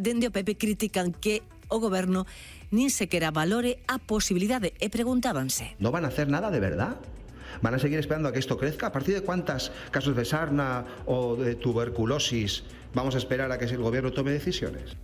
Dende o PP critican que o goberno nin sequera valore a posibilidade e preguntábanse: ¿No van a hacer nada de verdad? ¿Van a seguir esperando a que esto crezca? ¿A partir de cuántos casos de sarna o de tuberculosis vamos a esperar a que el gobierno tome decisiones?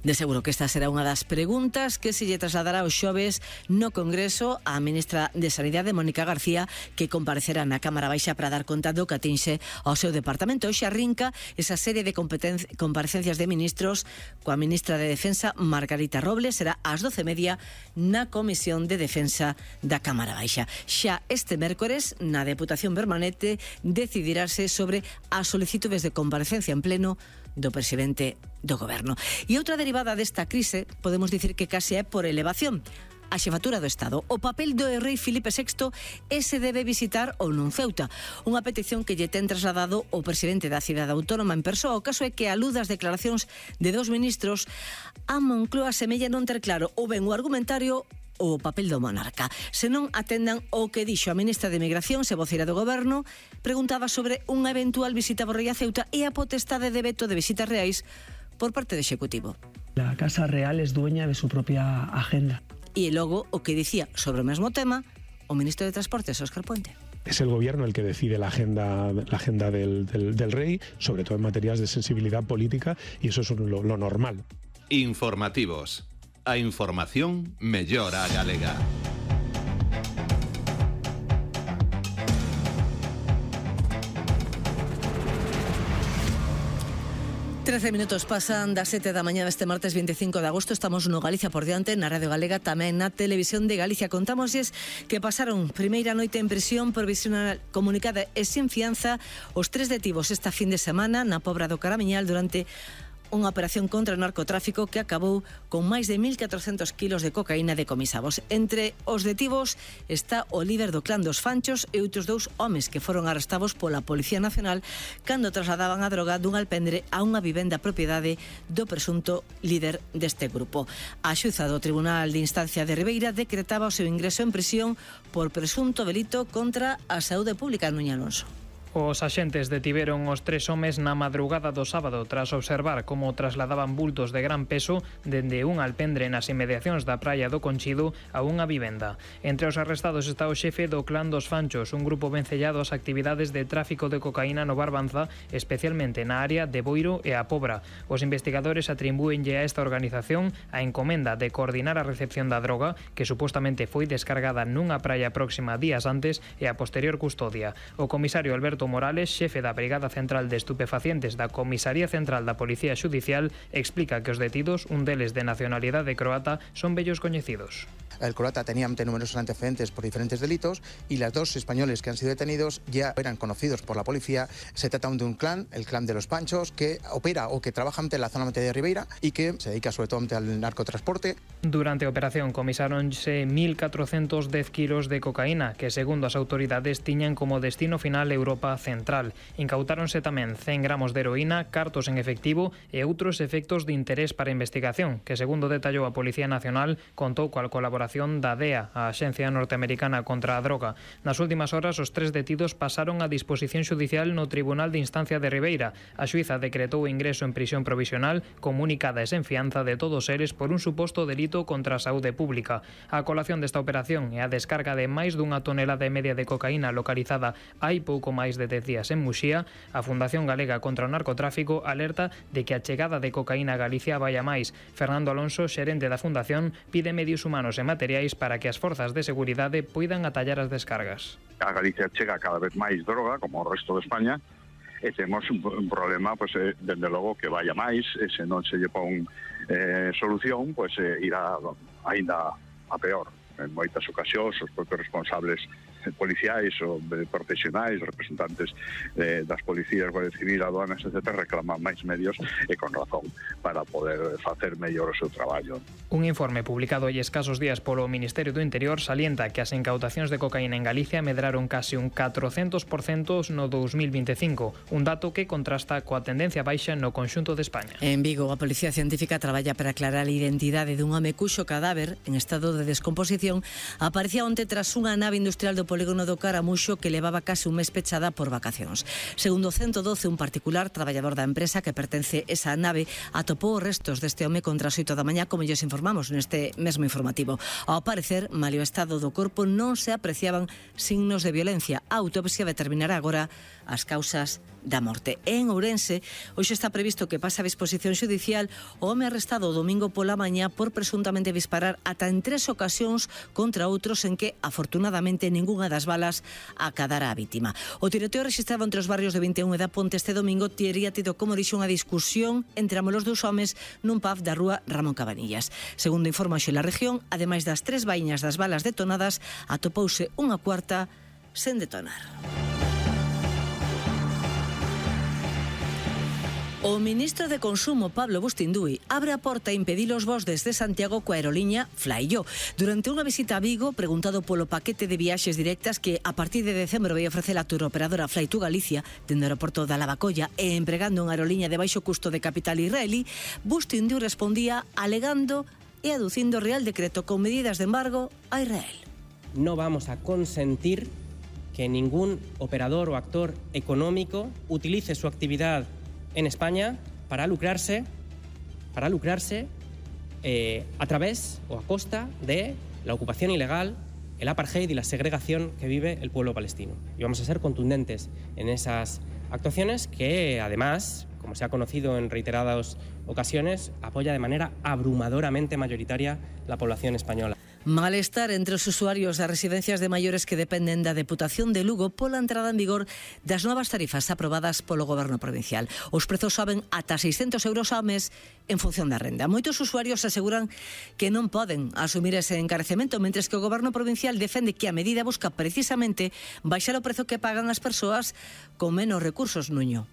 De seguro que esta será unha das preguntas que se lle trasladará os xoves no Congreso á ministra de Sanidade, Mónica García, que comparecerá na Cámara Baixa para dar conta do que atinxe ao seu departamento. Hoxe arrinca esa serie de comparecencias de ministros coa ministra de Defensa, Margarita Robles. Será ás 12:30 na Comisión de Defensa da Cámara Baixa. Xa este mércores, na Deputación Permanente, decidirase sobre as solicitudes de comparecencia en pleno do presidente do goberno. E outra derivada desta crise, podemos dicir que case é por elevación, a xefatura do Estado. O papel do rei Filipe VI se debe visitar ou non Ceuta. Unha petición que lle ten trasladado o presidente da cidade autónoma en persoa. O caso é que, a luz das declaracións de dos ministros, a Moncloa semella non ter claro ou ben o argumentario o papel do monarca. Se non atendan o que dixo a ministra de Migración, se voceira do goberno, preguntaba sobre unha eventual visita por rei a Ceuta e a potestade de veto de visitas reais por parte do Executivo. La Casa Real es dueña de su propia agenda. E logo o que dicía sobre o mesmo tema o ministro de Transportes, Óscar Puente. Es el gobierno el que decide la agenda del rey, sobre todo en materias de sensibilidad política, y eso es lo normal. Informativos. A información mellora a galega. Trece minutos pasan das 7 da mañá deste martes 25 de agosto. Estamos no Galicia por diante, na Radio Galega, tamén na Televisión de Galicia. Contámoslles que pasaron primeira noite en prisión provisional comunicada e sin fianza os 3 detidos esta fin de semana na Pobra do Caramiñal durante unha operación contra o narcotráfico que acabou con máis de 1.400 kilos de cocaína decomisados. Entre os detidos está o líder do clan dos Fanchos e outros 2 homes que foron arrestados pola Policía Nacional cando trasladaban a droga dun alpendre a unha vivenda propiedade do presunto líder deste grupo. A xuza do Tribunal de Instancia de Ribeira decretaba o seu ingreso en prisión por presunto delito contra a saúde pública. Nuña Alonso. Os axentes detiveron os 3 homes na madrugada do sábado tras observar como trasladaban bultos de gran peso dende un alpendre nas inmediacións da praia do Conchido a unha vivenda. Entre os arrestados está o xefe do clan dos Fanchos, un grupo vencellado ás actividades de tráfico de cocaína no Barbanza, especialmente na área de Boiro e a Pobra. Os investigadores atribúenlle a esta organización a encomenda de coordinar a recepción da droga, que supostamente foi descargada nunha praia próxima días antes, e a posterior custodia. O comisario Alberto Morales, xefe da Brigada Central de Estupefacientes da Comisaría Central da Policía Xudicial, explica que os detidos, un deles de nacionalidade croata, son vellos coñecidos. El croata tenía numerosos antecedentes por diferentes delitos y las 2 españoles que han sido detenidos ya eran conocidos por la policía. Se trata de un clan, el clan de los Panchos, que opera o que trabaja en la zona de Ribeira y que se dedica sobre todo al narcotransporte. Durante a operación comisáronse 1.410 kilos de cocaína que, segundo as autoridades, tiñan como destino final Europa Central. Incautáronse tamén 100 gramos de heroína, cartos en efectivo e outros efectos de interés para a investigación, que, segundo detallou a Policía Nacional, contou coa colaboración da DEA, a Axencia Norteamericana contra a Droga. Nas últimas horas, os 3 detidos pasaron a disposición xudicial no Tribunal de Instancia de Ribeira. A xuíza decretou o ingreso en prisión provisional comunicada e sen fianza de todos eles por un suposto delito contra a saúde pública. A colación desta operación e a descarga de máis dunha tonelada e media de cocaína localizada hai pouco máis de 10 días en Muxía, a Fundación Galega contra o Narcotráfico alerta de que a chegada de cocaína a Galicia vai a máis. Fernando Alonso, xerente da Fundación, pide medios humanos e materiais para que as forzas de seguridade poidan atallar as descargas. A Galicia chega cada vez máis droga, como o resto de España, e temos un problema, dende logo, que vaya máis, e se non se lle pon solución, irá aínda a peor. En moitas ocasións, os propios responsables policiais ou profesionais, representantes das policías, Guardia Civil, aduanas, etc., reclaman máis medios e con razón para poder facer mellor o seu traballo. Un informe publicado hai escasos días polo Ministerio do Interior salienta que as incautacións de cocaína en Galicia medraron case un 400% no 2025, un dato que contrasta coa tendencia baixa no conxunto de España. En Vigo, a Policía Científica traballa para aclarar a identidade dun home cuxo cadáver en estado de descomposición aparecía onte tras unha nave industrial do polígono do Caramuxo que levaba case un mes pechada por vacacións. Segundo 112, un particular, traballador da empresa que pertence esa nave, atopou os restos deste home contra as 8 da mañá, como lles informamos neste mesmo informativo. Ao parecer, malio estado do corpo, non se apreciaban signos de violencia. A autopsia determinará agora as causas da morte. En Ourense, hoxe está previsto que pase a disposición xudicial o home arrestado o domingo pola mañá por presuntamente disparar ata en 3 ocasións contra outros en que, afortunadamente, ningunha das balas acadara a vítima. O tiroteo registrado entre os barrios de 21 e da Ponte este domingo tería tido, como dixo, unha discusión entre ambos os dous homes nun pub da rúa Ramón Cabanillas. Segundo informa hoxe la región, ademais das 3 vaíñas das balas detonadas, atopouse unha cuarta sen detonar. O ministro de Consumo, Pablo Bustinduy, abre a porta a impedir os voos desde Santiago coa aeroliña Flyyo. Durante unha visita a Vigo, preguntado polo paquete de viaxes directas que a partir de decembro vai ofrecer a turoperadora Fly2 Galicia dende o aeroporto da Lavacolla e empregando unha aeroliña de baixo custo de capital israelí, Bustinduy respondía alegando e aducindo o Real Decreto con medidas de embargo a Israel. No vamos a consentir que ningún operador o actor económico utilice su actividad en España para lucrarse a través o a costa de la ocupación ilegal, el apartheid y la segregación que vive el pueblo palestino. Y vamos a ser contundentes en esas actuaciones que, además, como se ha conocido en reiteradas ocasiones, apoya de manera abrumadoramente mayoritaria la población española. Malestar entre os usuarios das residencias de maiores que dependen da Deputación de Lugo pola entrada en vigor das novas tarifas aprobadas polo Goberno provincial. Os prezos soben ata 600 euros ao mes en función da renda. Moitos usuarios aseguran que non poden asumir ese encarecemento, mentres que o Goberno provincial defende que a medida busca precisamente baixar o prezo que pagan as persoas con menos recursos, Nuño.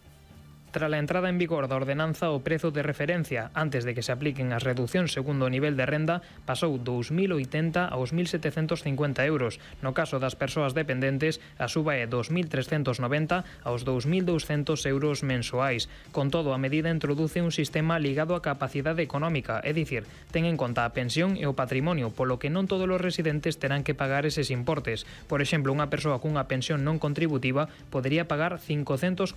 Tras la entrada en vigor da ordenanza, o prezo de referencia antes de que se apliquen as reduccións segundo o nivel de renda pasou dos 1.080 aos 1.750 euros. No caso das persoas dependentes, a suba é dos 1.390 aos 2.200 euros mensuais. Con todo, a medida introduce un sistema ligado á capacidade económica, é dicir, ten en conta a pensión e o patrimonio, polo que non todos os residentes terán que pagar eses importes. Por exemplo, unha persoa cunha pensión non contributiva podería pagar 545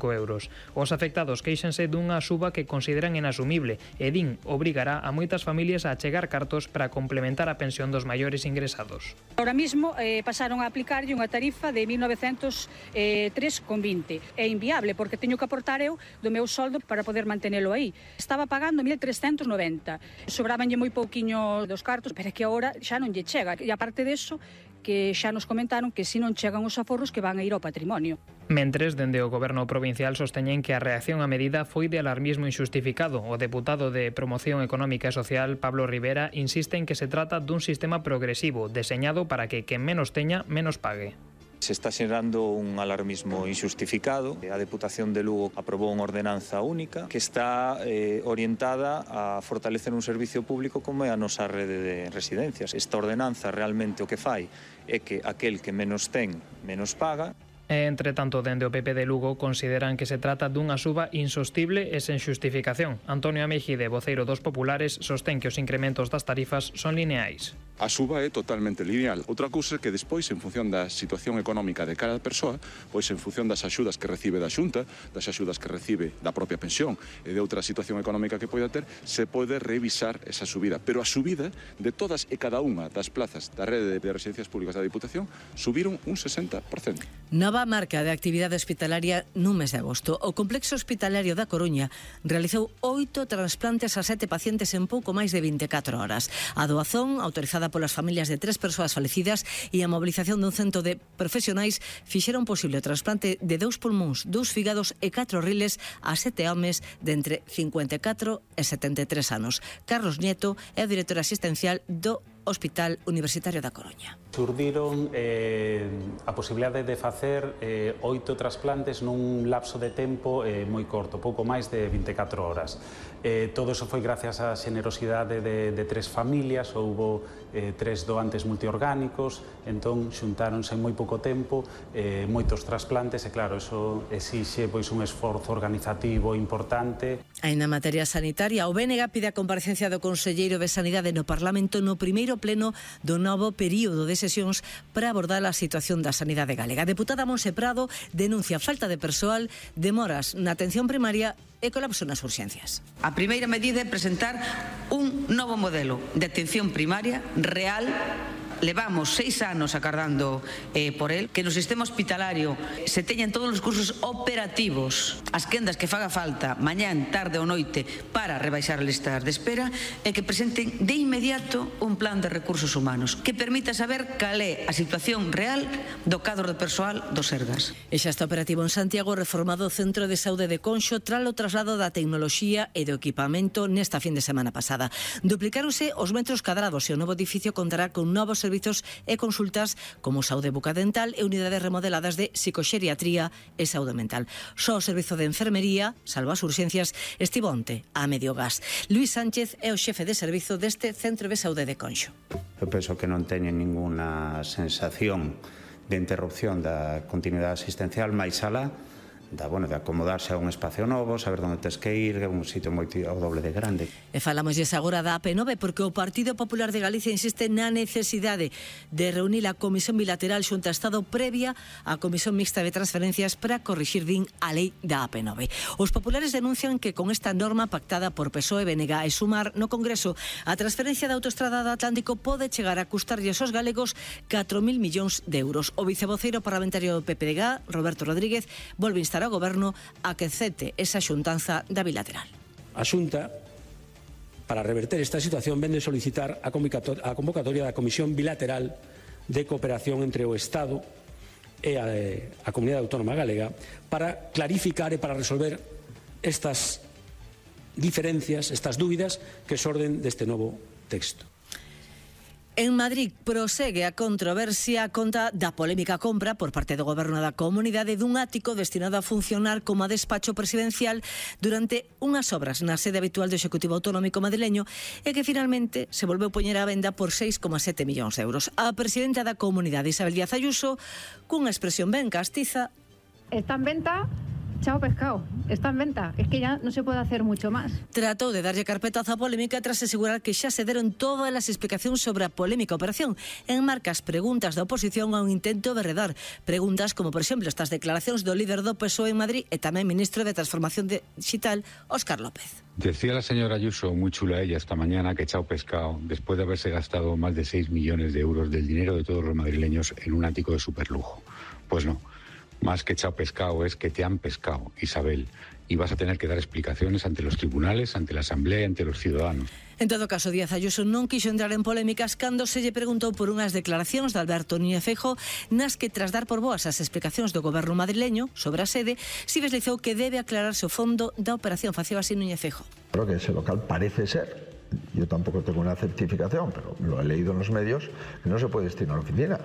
euros. Os afectados queixanse dunha suba que consideran inasumible e din obrigará a moitas familias a achegar cartos para complementar a pensión dos maiores ingresados. Ahora mismo pasaron a aplicarlle unha tarifa de 1.903,20. É inviable porque teño que aportar eu do meu soldo para poder mantenelo aí. Estaba pagando 1.390. Sobrabanlle moi pouquiño dos cartos, pero é que agora xa non lle chega. E aparte deso, que xa nos comentaron que se non chegan os aforros que van a ir ao patrimonio. Mentres, dende o Goberno provincial sosteñen que a reacción á medida foi de alarmismo injustificado. O deputado de Promoción Económica e Social, Pablo Rivera, insiste en que se trata dun sistema progresivo, deseñado para que quen menos teña, menos pague. Se está xerando un alarmismo injustificado. A Deputación de Lugo aprobou unha ordenanza única que está orientada a fortalecer un servicio público como é a nosa rede de residencias. Esta ordenanza realmente o que fai é que aquel que menos ten, menos paga. Entre tanto, dende o PP de Lugo consideran que se trata dunha suba insostible e sen xustificación. Antonio Ameixide, voceiro dos populares, sostén que os incrementos das tarifas son lineais. A suba é totalmente lineal. Outra cousa é que despois, en función da situación económica de cada persoa, pois en función das axudas que recibe da Xunta, das axudas que recibe da propia pensión e de outra situación económica que poida ter, se pode revisar esa subida. Pero a subida de todas e cada unha das plazas da rede de residencias públicas da Diputación subiron un 60%. Nova marca de actividade hospitalaria nun mes de agosto. O Complexo Hospitalario da Coruña realizou 8 trasplantes a 7 pacientes en pouco máis de 24 horas. A doazón, autorizada polas familias de 3 persoas falecidas e a mobilización dun cento de profesionais fixeron posible o trasplante de 2 pulmóns, 2 fígados e 4 riles a 7 homes de entre 54 e 73 anos. Carlos Nieto é o director asistencial do Hospital Universitario da Coruña. Surdiron a posibilidade de facer 8 trasplantes nun lapso de tempo moi corto, pouco máis de 24 horas. Todo eso foi gracias á xenerosidade de 3 familias, houbo 3 doantes multiorgánicos, entón xuntáronse en moi pouco tempo moitos trasplantes e claro, eso exixe pois un esforzo organizativo importante. Aí na materia sanitaria, o BNG pide a comparecencia do Conselleiro de Sanidade no Parlamento no primeiro pleno do novo período de sesións para abordar a situación da sanidade galega. A deputada Monse Prado denuncia falta de persoal, demoras na atención primaria e colapso nas urxencias. A primeira medida é presentar un novo modelo de atención primaria real. Levamos 6 anos acardando por el, que no sistema hospitalario se teñan todos os cursos operativos, as quendas que faga falta, mañán, tarde ou noite, para rebaixar as listas de espera, e que presenten de inmediato un plan de recursos humanos que permita saber cal é a situación real do cadro de persoal do Sergas. E xa está operativo en Santiago reformado o Centro de Saúde de Conxo tras o traslado da tecnoloxía e do equipamento nesta fin de semana pasada. Duplicáronse os metros cadrados e o novo edificio contará con novos servizos e consultas como saúde bucodental e unidades remodeladas de psicoxeriatría e saúde mental. Só o servizo de enfermería, salvo as urxencias, estivo onte a medio gas. Luis Sánchez é o xefe de servizo deste Centro de Saúde de Conxo. Eu penso que non teñen ninguna sensación de interrupción da continuidade asistencial máis alá de acomodarse a un espacio novo, saber onde tes que ir, un sitio moi o doble de grande. E falámosles agora da AP9 porque o Partido Popular de Galicia insiste na necesidade de reunir a Comisión Bilateral xunto a Estado previa á Comisión Mixta de Transferencias para corrixir din a lei da AP9. Os populares denuncian que con esta norma pactada por PSOE, BNG e Sumar no Congreso, a transferencia da autoestrada do Atlántico pode chegar a custarlles aos galegos 4.000 millóns de euros. O vicevoceiro parlamentario do PPDG, Roberto Rodríguez, volve a instar ao Goberno a que acepte esa xuntanza da bilateral. A Xunta, para reverter esta situación, vende solicitar a convocatoria da Comisión Bilateral de Cooperación entre o Estado e a Comunidade Autónoma Galega para clarificar e para resolver estas diferencias, estas dúbidas que xorden deste novo texto. En Madrid prosegue a controversia a conta da polémica compra por parte do Goberno da Comunidade dun ático destinado a funcionar como a despacho presidencial durante unhas obras na sede habitual do Executivo Autonómico madrileño e que finalmente se volveu poñer á venda por 6,7 millóns de euros. A presidenta da Comunidade, Isabel Díaz Ayuso, cunha expresión ben castiza: está en venta. Chao pescado, está en venta, es que ya no se puede hacer mucho más. Tratou de darlle carpetazo á polémica tras asegurar que xa se deron todas as explicacións sobre a polémica operación. Enmarca as preguntas da oposición a un intento de redar. Preguntas como, por exemplo, estas declaracións do líder do PSOE en Madrid e tamén ministro de Transformación Digital, Óscar López. Decía la señora Ayuso, muy chula ella esta mañana, que chao pescado, después de haberse gastado más de 6 millones de euros del dinero de todos los madrileños en un ático de superlujo. Pues no. Más que chao pescado es que te han pescado, Isabel, y vas a tener que dar explicaciones ante los tribunales, ante la Asamblea y ante los ciudadanos. En todo caso, Díaz Ayuso non quixo entrar en polémicas cando se lle preguntou por unhas declaracións de Alberto Núñez Feijóo nas que, tras dar por boas as explicacións do goberno madrileño sobre a sede, si deslizou que debe aclararse o fondo da operación. Facía así Núñez Feijóo. Creo que ese local parece ser, yo tampoco tengo una certificación, pero lo he leído en los medios, que no se puede destinar a la oficina.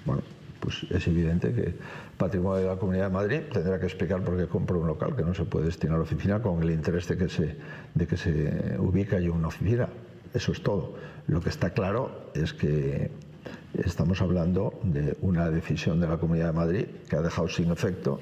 Bueno, pues es evidente que Patrimonio de la Comunidad de Madrid tendrá que explicar por qué compra un local que no se puede destinar a la oficina con el interés de que se ubique allí una oficina. Eso es todo. Lo que está claro es que estamos hablando de una decisión de la Comunidad de Madrid que ha dejado sin efecto.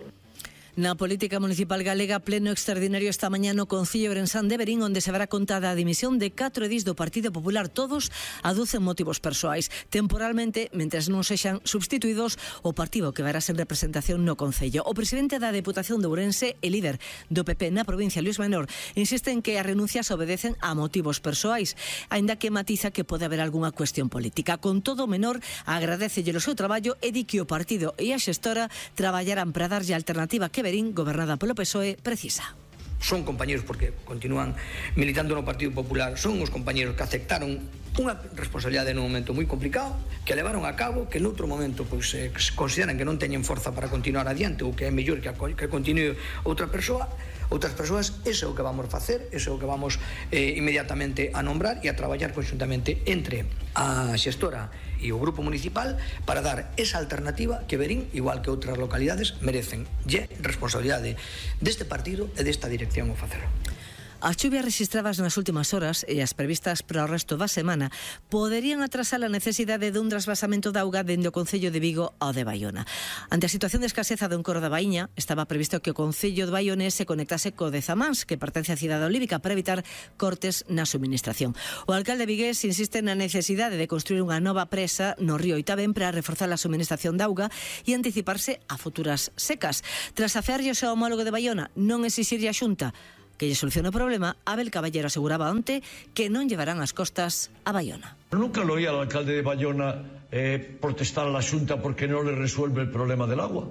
Na política municipal galega, pleno extraordinario esta mañá no Concello Ourensán de Verín, onde se verá contada a dimisión de 4 edís do Partido Popular. Todos aducen motivos persoais. Temporalmente, mentres non sexan substituídos, o partido que verá sen representación no Concello. O presidente da Deputación de Ourense e líder do PP na provincia, Luis Menor, insiste en que as renuncias obedecen a motivos persoais, aínda que matiza que pode haber algunha cuestión política. Con todo, Menor agradecelle o seu traballo e di que o partido e a xestora traballarán para darlle a alternativa que Verín, gobernada polo PSOE, precisa. Son compañeros porque continúan militando no Partido Popular, son os compañeros que aceptaron unha responsabilidade nun momento moi complicado, que levaron a cabo, que noutro momento pois consideran que non teñen forza para continuar adiante ou que é mellor que continue outras persoas. Eso é o que vamos facer, eso é o que vamos inmediatamente a nombrar e a traballar conxuntamente entre a xestora e o grupo municipal para dar esa alternativa que Verín, igual que outras localidades, merecen. E responsabilidade deste partido e desta dirección o facer. As chuvias registradas nas últimas horas e as previstas para o resto da semana poderían atrasar a necesidade dun trasvasamento de auga dende o Concello de Vigo ao de Baiona. Ante a situación de escaseza do Encoro da Baíña, estaba previsto que o Concello de Baiona se conectase co de Zamáns, que pertence á cidade olívica, para evitar cortes na suministración. O alcalde vigués insiste na necesidade de construir unha nova presa no río Itabén para reforzar a suministración de auga e anticiparse a futuras secas. Tras afearlle o seu homólogo de Baiona non exixirlle a Xunta que lle solucione o problema, Abel Caballero aseguraba onte que non llevarán as costas a Baiona. Nunca lo oí al alcalde de Baiona protestar a la Xunta porque no le resuelve el problema del agua.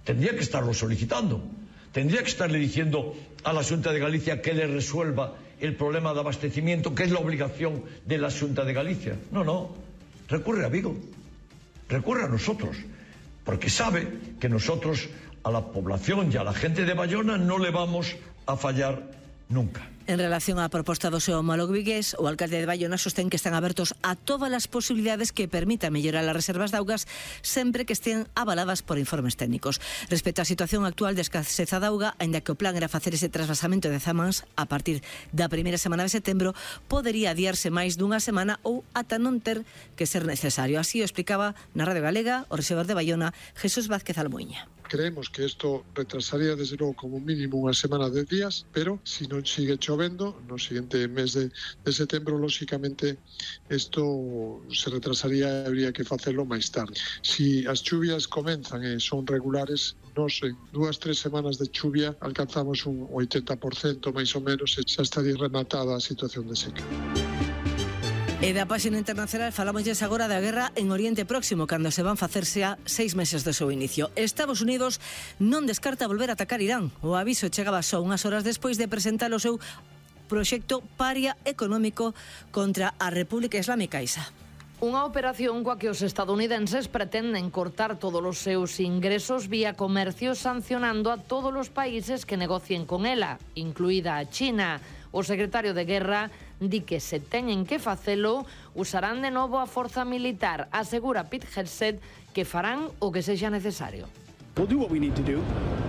Tendría que estarlo solicitando. Tendría que estarle diciendo a la Xunta de Galicia que le resuelva el problema de abastecimiento, que es la obligación de la Xunta de Galicia. No, recurre a Vigo, recurre a nosotros, porque sabe que nosotros a la población y a la gente de Baiona no le vamos a fallar nunca. En relación á proposta do seu homólogo vigués, o alcalde de Baiona sostén que están abertos a todas as posibilidades que permitan mellorar as reservas de augas sempre que estén avaladas por informes técnicos. Respecto á situación actual de escaseza de auga, aínda que o plan era facer ese trasvasamento de Zamáns a partir da primeira semana de setembro, podería adiarse máis dunha semana ou ata non ter que ser necesario. Así o explicaba na Radio Galega o rexedor de Baiona, Jesús Vázquez Almuiña. Creemos que esto retrasaría desde luego como mínimo unha semana de días, pero si non sigue chovendo no siguiente mes de setembro, lógicamente esto se retrasaría e habría que facelo máis tarde. Si as chuvias comenzan e son regulares, nos en 2-3 semanas de chuvia alcanzamos un 80% máis ou menos e xa estaría rematada a situación de seca. E da páxina internacional falámosles agora da guerra en Oriente Próximo, cando se van facerse a 6 meses do seu inicio. Estados Unidos non descarta volver a atacar Irán. O aviso chegaba só unhas horas despois de presentar o seu proxecto paria económico contra a República Islámica Isa. Unha operación coa que os estadounidenses pretenden cortar todos os seus ingresos vía comercio, sancionando a todos os países que negocien con ela, incluída a China. O secretario de Guerra di que se teñen que facelo, usarán de novo a forza militar. Asegura Pete Hegseth que farán o que sexa necesario. We'll do what we need to do,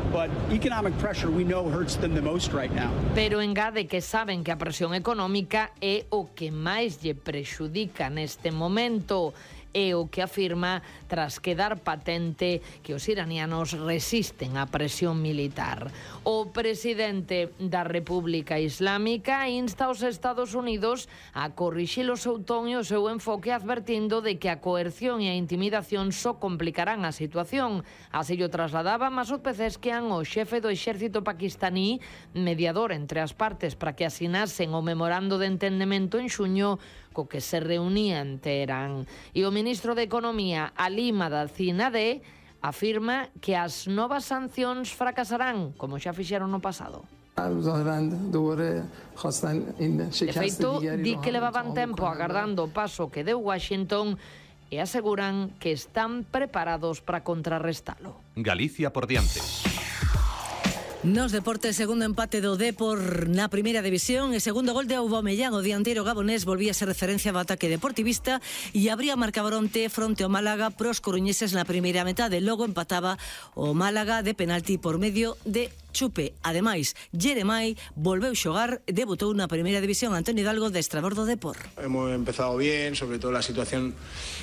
but economic pressure we know hurts them the most right now. Pero engade que saben que a presión económica é o que máis lle prexudica neste momento. É o que afirma tras quedar patente que os iranianos resisten á presión militar. O presidente da República Islámica insta aos Estados Unidos a corrixir o seu ton e o seu enfoque, advertindo de que a coerción e a intimidación só complicarán a situación. Así o trasladaba Masoud Pezeshkian, o xefe do exército paquistaní, mediador entre as partes para que asinasen o memorando de entendemento en xuño co que se reunía en Teherán. E o ministro de Economía, Ali Madadzinadeh, afirma que as novas sancións fracasarán, como xa fixeron no pasado. De feito, di que levaban tempo agardando o paso que deu Washington e aseguran que están preparados para contrarrestalo. Galicia por diante. Nos deportes, segundo empate do Depor na primeira división e segundo gol de Aubameyang, o dianteiro gabonés volvía a ser referencia do ataque deportivista e abría marcador onte fronte ao Málaga pros coruñeses na primeira metade. Logo empataba o Málaga de penalti por medio de Chupe. Ademais, Jeremai volveu xogar, debutou na primeira división. Antonio Hidalgo, destrador do Depor. Hemos empezado bien, sobre todo la situación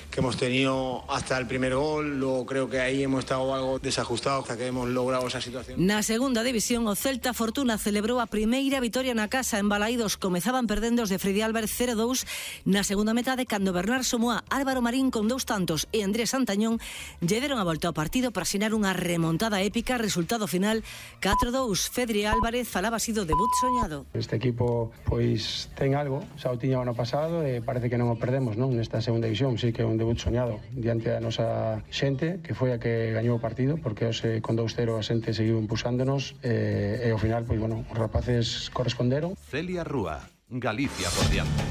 que hemos tenido hasta el primer gol. Luego creo que ahí hemos estado algo desajustados hasta que hemos logrado esa situación. Na segunda división, o Celta Fortuna celebrou a primeira vitoria na casa. En Balaídos comezaban perdendo os de Freddy Álvarez 0-2 na segunda metade, cando Bernard Somoa, Álvaro Marín con 2 tantos e Andrés Santañón lle deron a volta ao partido para asinar unha remontada épica. Resultado final 4-2. Fedri Álvarez falaba así do debut soñado. Este equipo pois ten algo, xa o tiña o ano pasado e parece que non o perdemos, non? Nesta segunda división, sí que é un debut soñado diante da nosa xente, que foi a que gañou o partido, porque hoxe con 2-0 a xente seguiu impulsándonos e ao final, pois bueno, os rapaces corresponderon. Celia Rúa, Galicia por diante.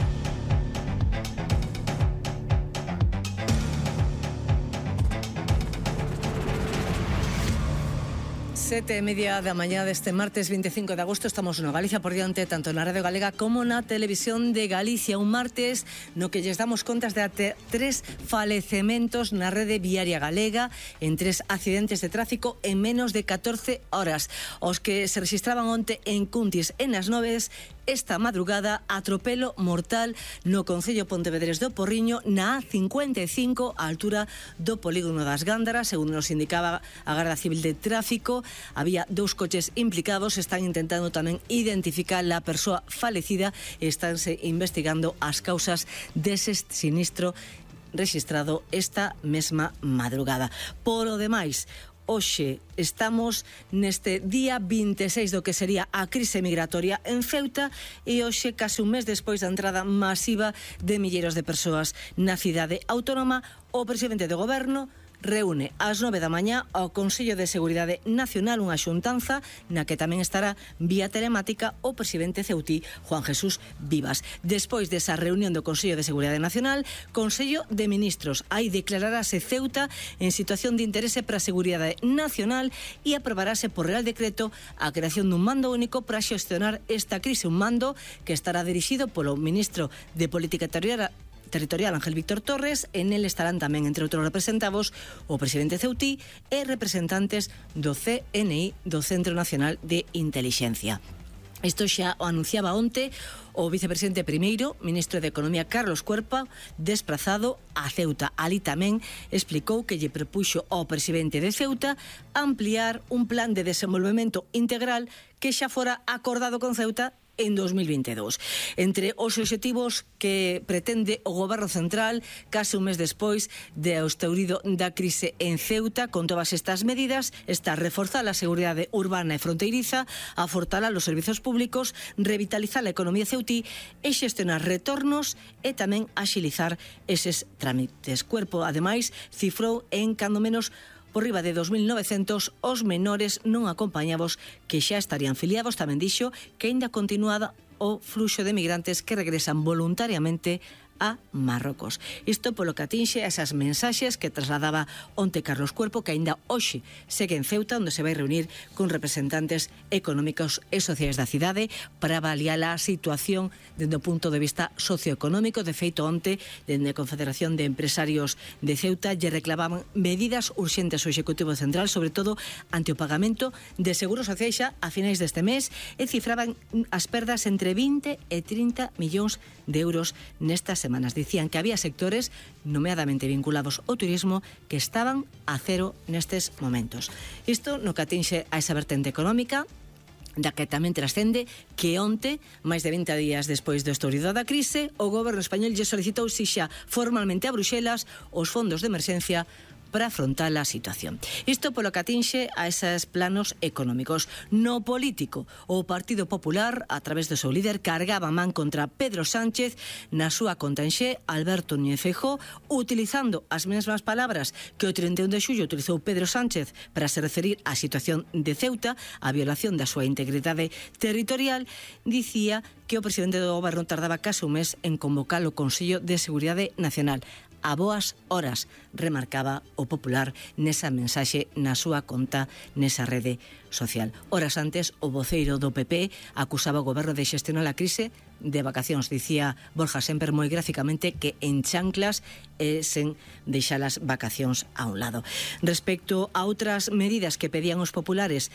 7:30 da mañá deste martes 25 de agosto. Estamos no Galicia por diante, tanto na Radio Galega como na Televisión de Galicia. Un martes no que lles damos contas de até 3 falecementos na rede viaria galega en 3 accidentes de tráfico en menos de 14 horas. Os que se registraban onte en Cuntis e nas Noves, esta madrugada atropelo mortal no concello Pontevedrés do Porriño na A55 á altura do polígono das Gándaras. Segundo nos indicaba a Garda Civil de Tráfico, había 2 coches implicados. Están intentando tamén identificar a persoa falecida e estánse investigando as causas dese sinistro registrado esta mesma madrugada. Por o demais, hoxe estamos neste día 26 do que sería a crise migratoria en Ceuta e hoxe, case un mes despois da entrada masiva de milleiros de persoas na cidade autónoma, o presidente do goberno reúne ás 9 da mañá ao Consello de Seguridade Nacional, unha xuntanza na que tamén estará vía telemática o presidente ceutí Juan Jesús Vivas. Despois desa reunión do Consello de Seguridade Nacional, Consello de Ministros, aí declararase Ceuta en situación de interese para a seguridade nacional e aprobarase por Real Decreto a creación dun mando único para xestionar esta crise, un mando que estará dirixido polo ministro de Política Territorial Ángel Víctor Torres. En el estarán tamén, entre outros representados, o presidente ceutí e representantes do CNI, do Centro Nacional de Intelixencia. Isto xa o anunciaba onte o vicepresidente primeiro, ministro de Economía Carlos Cuerpa, desplazado a Ceuta. Ali tamén explicou que lle propuxo ao presidente de Ceuta ampliar un plan de desenvolvemento integral que xa fora acordado con Ceuta en 2022. Entre os obxectivos que pretende o goberno central, case un mes despois de o estourido da crise en Ceuta, con todas estas medidas, está reforzar a seguridade urbana e fronteiriza, afortalar os servizos públicos, revitalizar a economía ceutí e xestionar retornos e tamén axilizar eses trámites. Cuerpo, ademais, cifrou en cando menos por riba de 2.900 os menores non acompañados que xa estarían filiados. Tamén dixo que aínda continuada o fluxo de migrantes que regresan voluntariamente a Marrocos. Isto polo que atinxe a esas mensaxes que trasladaba onte Carlos Cuerpo, que aínda hoxe segue en Ceuta, onde se vai reunir con representantes económicos e sociais da cidade para avaliar a situación dende o punto de vista socioeconómico. De feito, onte, dende a Confederación de Empresarios de Ceuta lle reclamaban medidas urxentes ao Executivo Central, sobre todo ante o pagamento de seguros sociais xa a finais deste mes, e cifraban as perdas entre 20 e 30 millóns de euros nestas semanas. Dicían que había sectores, nomeadamente vinculados ao turismo, que estaban a cero nestes momentos. Isto no que atinxe a esa vertente económica, da que tamén trascende que onte, máis de 20 días despois do estourido da crise, o goberno español lle solicitou xa formalmente a Bruxelas os fondos de emerxencia para afrontar a situación. Isto polo que atinxe a eses planos económicos. No político, o Partido Popular, a través do seu líder, cargaba man contra Pedro Sánchez na súa conta en Xe, Alberto Núñez Feijóo, utilizando as mesmas palabras que o 31 de xullo utilizou Pedro Sánchez para se referir á situación de Ceuta, a violación da súa integridade territorial. Dicía que o presidente do goberno tardaba case un mes en convocar o Consello de Seguridade Nacional. A boas horas, remarcaba o Popular nesa mensaxe na súa conta nesa rede social. Horas antes, o voceiro do PP acusaba o goberno de xestionar a crise de vacacións. Dicía Borja Semper moi gráficamente que en chanclas e sen deixar as vacacións a un lado. Respecto a outras medidas que pedían os populares,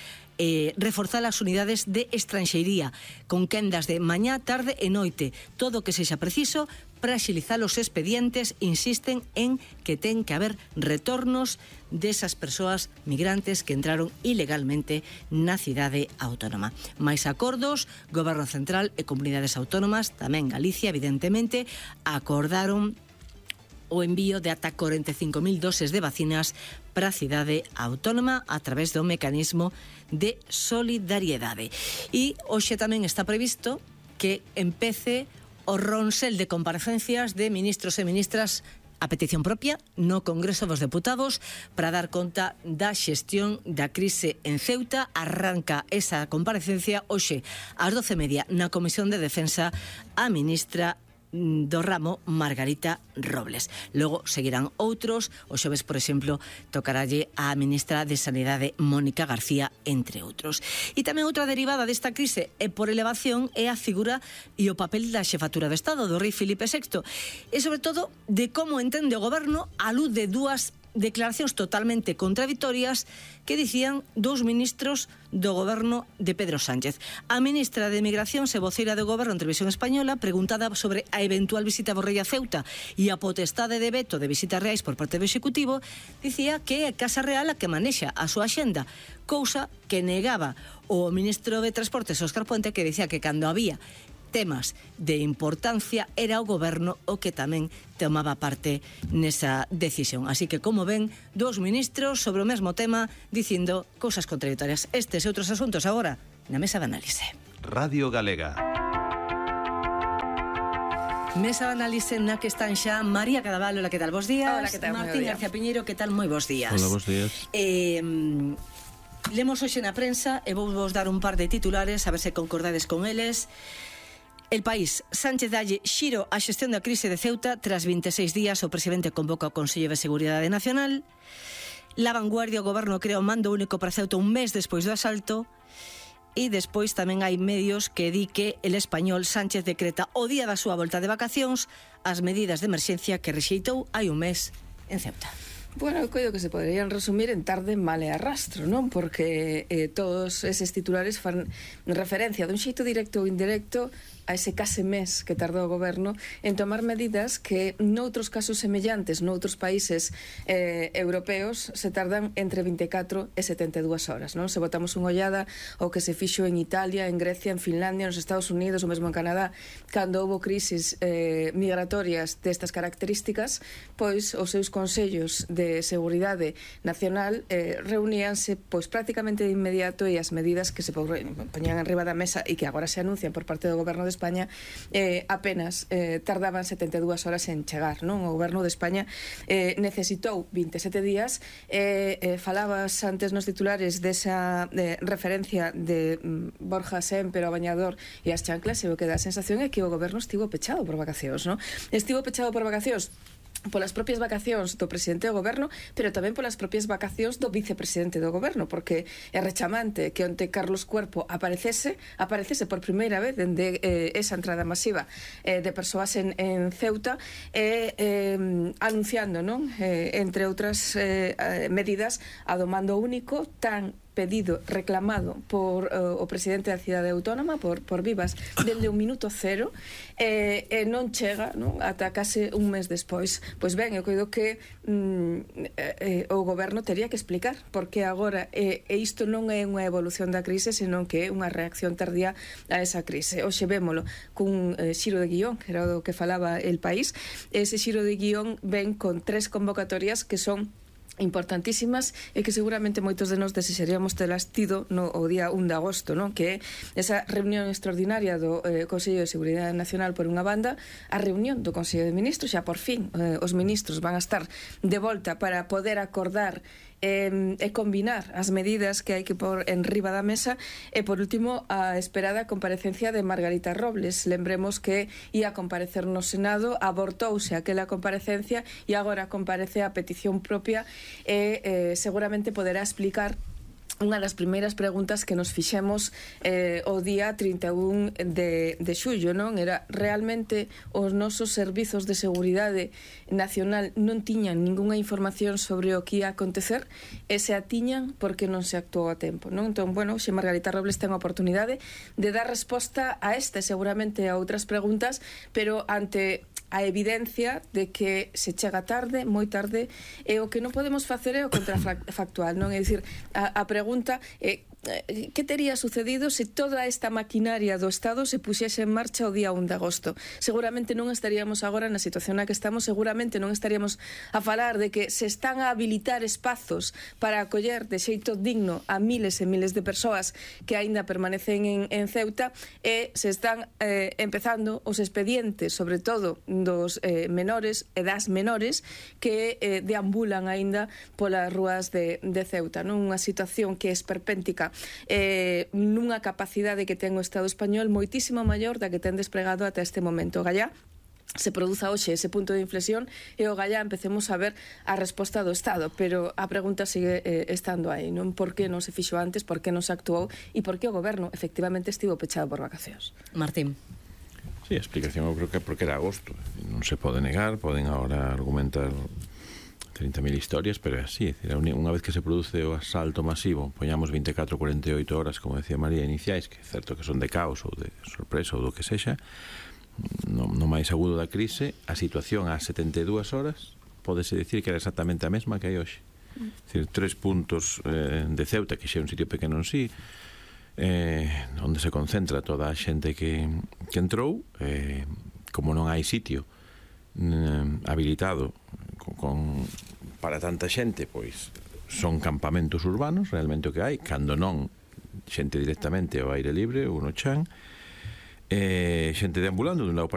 reforzar as unidades de estranxeiría con quendas de mañá, tarde e noite, todo o que sexa preciso para axilizar os expedientes. Insisten en que ten que haber retornos desas persoas migrantes que entraron ilegalmente na cidade autónoma. Mais acordos, Goberno Central e comunidades autónomas, tamén Galicia, evidentemente, acordaron o envío de ata 45.000 doses de vacinas para a cidade autónoma a través do mecanismo de solidariedade. E hoxe tamén está previsto que empece o ronsel de comparecencias de ministros e ministras a petición propia no Congreso dos Deputados para dar conta da xestión da crise en Ceuta. Arranca esa comparecencia hoxe ás 12:30 na Comisión de Defensa a ministra do ramo Margarita Robles. Logo seguirán outros. O xoves, por exemplo, tocaralle a ministra de Sanidade Mónica García, entre outros. E tamén outra derivada desta crise e por elevación é a figura e o papel da xefatura de Estado do rei Filipe VI e sobre todo de como entende o goberno a luz de dúas declaracións totalmente contradictorias que dicían dous ministros do goberno de Pedro Sánchez. A ministra de Migración e voceira do goberno en Televisión Española, preguntada sobre a eventual visita do rei a Ceuta e a potestade de veto de visitas reais por parte do Executivo, dicía que é a Casa Real a que manexa a súa axenda, cousa que negaba o ministro de Transportes, Óscar Puente, que dicía que cando había temas de importancia era o goberno o que tamén tomaba parte nesa decisión. Así que, como ven, dous ministros sobre o mesmo tema dicindo cousas contradictorias. Estes e outros asuntos agora na mesa de análise. Radio Galega. Mesa de análise na que están xa María Cadaval, hola, que tal? Bos días. Hola, que tal? Martín García Piñeiro, que tal? Moi bos días. Hola, bos días. Lemos hoxe na prensa e vou vos dar un par de titulares a ver se concordades con eles. El País. Sánchez dalle xiro á xestión da crise de Ceuta. Tras 26 días o presidente convoca o Consello de Seguridade Nacional. La Vanguardia, o goberno crea un mando único para Ceuta un mes despois do asalto. E despois tamén hai medios que di que el Español Sánchez decreta o día da súa volta de vacacións as medidas de emerxencia que rexeitou hai un mes en Ceuta. Bueno, eu coido que se poderían resumir en tarde, mal e arrastro, non? Porque todos eses titulares fan referencia dun xeito directo ou indirecto a ese case mes que tardou o goberno en tomar medidas que noutros casos semellantes noutros países europeos se tardan entre 24 e 72 horas, non? Se botamos unha ollada ao que se fixo en Italia, en Grecia, en Finlandia, nos Estados Unidos, ou mesmo en Canadá, cando houbo crisis migratorias destas características, pois os seus consellos de seguridade nacional reuníanse pois prácticamente de inmediato e as medidas que se poñían enriba da mesa e que agora se anuncian por parte do goberno de España apenas tardaban 72 horas en chegar, non? O goberno de España necesitou 27 días. Falabas antes nos titulares desa referencia de Borja Sémper ao bañador e as chanclas, e o que dá a sensación é que o goberno estivo pechado por vacacións, non? Estivo pechado por vacacións polas propias vacacións do presidente do goberno, pero tamén polas propias vacacións do vicepresidente do goberno, porque é rechamante que onte Carlos Cuerpo aparecese por primeira vez dende esa entrada masiva de persoas en Ceuta, anunciando, non? Entre outras medidas, a do mando único tan pedido, reclamado por o presidente da cidade autónoma, por Vivas, dende o minuto cero, non chega, non? Ata case un mes despois. Pois ben, eu coido que o goberno tería que explicar porque agora isto non é unha evolución da crise, senón que é unha reacción tardía a esa crise. Hoxe vémolo cun xiro de guión, que era o que falaba El País. Ese xiro de guión ven con 3 convocatorias que son importantísimas e que seguramente moitos de nós desexaríamos telas tido o día 1 de agosto, non? Que é esa reunión extraordinaria do Consello de Seguridade Nacional por unha banda, a reunión do Consello de Ministros, xa por fin os ministros van a estar de volta para poder acordar e combinar as medidas que hai que pôr en riba da mesa, e por último a esperada comparecencia de Margarita Robles. Lembremos que ia comparecer no Senado, abortouse aquela comparecencia e agora comparece a petición propia e seguramente poderá explicar unha das primeiras preguntas que nos fixemos o día 31 de xullo, non? Era, realmente os nosos servizos de seguridade nacional non tiñan ningunha información sobre o que ia acontecer, e se a tiñan porque non se actuou a tempo, non? Entón, bueno, xe Margarita Robles ten a oportunidade de dar resposta a esta, seguramente a outras preguntas, pero ante a evidencia de que se chega tarde, moi tarde, e o que non podemos facer é o contrafactual, non? É dicir, a pregunta é que tería sucedido se toda esta maquinaria do Estado se puxese en marcha o día 1 de agosto. Seguramente non estaríamos agora na situación na que estamos, seguramente non estaríamos a falar de que se están a habilitar espazos para acoller de xeito digno a miles e miles de persoas que aínda permanecen en Ceuta, e se están empezando os expedientes, sobre todo dos menores e das menores que deambulan aínda polas rúas de Ceuta, non? Unha situación que é esperpéntica, nunha capacidade que ten o Estado español moitísimo maior da que ten desplegado ata este momento. Gallá se produza hoxe ese punto de inflexión e o gallá empecemos a ver a resposta do Estado, pero a pregunta sigue estando aí, non? Por que non se fixo antes, por que non se actuou e por que o goberno efectivamente estivo pechado por vacacións? Martín. Sí, a explicación eu creo que é porque era agosto, non se pode negar, poden agora argumentar 30.000 historias, pero é así, unha vez que se produce o asalto masivo, poñamos 24, 48 horas, como decía María, iniciais, que é certo que son de caos ou de sorpresa ou do que sexa, no máis agudo da crise, a situación ás 72 horas pódese dicir que era exactamente a mesma que hai hoxe. É dicir, 3 puntos de Ceuta, que xa é un sitio pequeno en sí, onde se concentra toda a xente que entrou, como non hai sitio habilitado para tanta xente, pois son campamentos urbanos, realmente o que hai, cando non xente directamente ao aire libre ou no chan, xente deambulando dun lado para